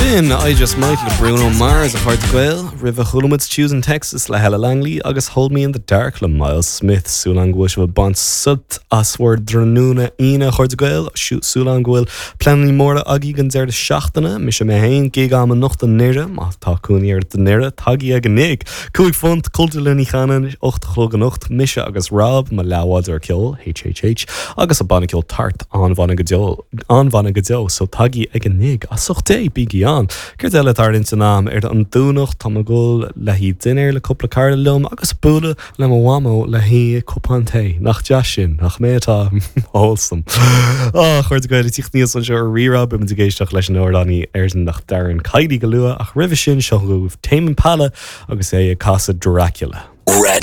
Sin I Just Might le Bruno Mars, a chairde Gael. Roimhe chuala muid Tuesday in Texas le Ella Langley agus Hold Me in the Dark le Myles Smith. Súil agam go bhfuil sibh ag baint sult as bhur dtráthnóna Aoine, a chairde Gael. Súil agam go bhfuil pleananna móra agaibh don deireadh seachtaine. Mise mé féin, gig agam anocht i nDoire. Má tá cónaí ort i nDoire, tagaigí ag an ngig. £5, Cultúrlann Uí Chanáin, 8 a chlog anocht. Mise agus Rob, mo leathbhádóir ceoil, HHH, agus an banna ceoil Tart, an-bhanna go deo, an-bhanna go deo, so tagaigí ag an ngig. As ucht Dé, bígí ann! Céard eile atá ar intinn agam? Ar an Domhnach, tá mé ag dul le haghaidh dinnéar le cúpla cara liom agus bualadh le mo mhamó le haghaidh cupán tae. Nach deas sin? Nach mé atá wholesome? Á, a chairde Gael, ag tíocht aníos anseo ar Rí-Rá, beimid ag éisteacht leis an amhránaí Éireannach Darren Kiely go luath, ach roimhe sin, seo chugaibh Tame Impala agus é ag casadh Dracula. Radio.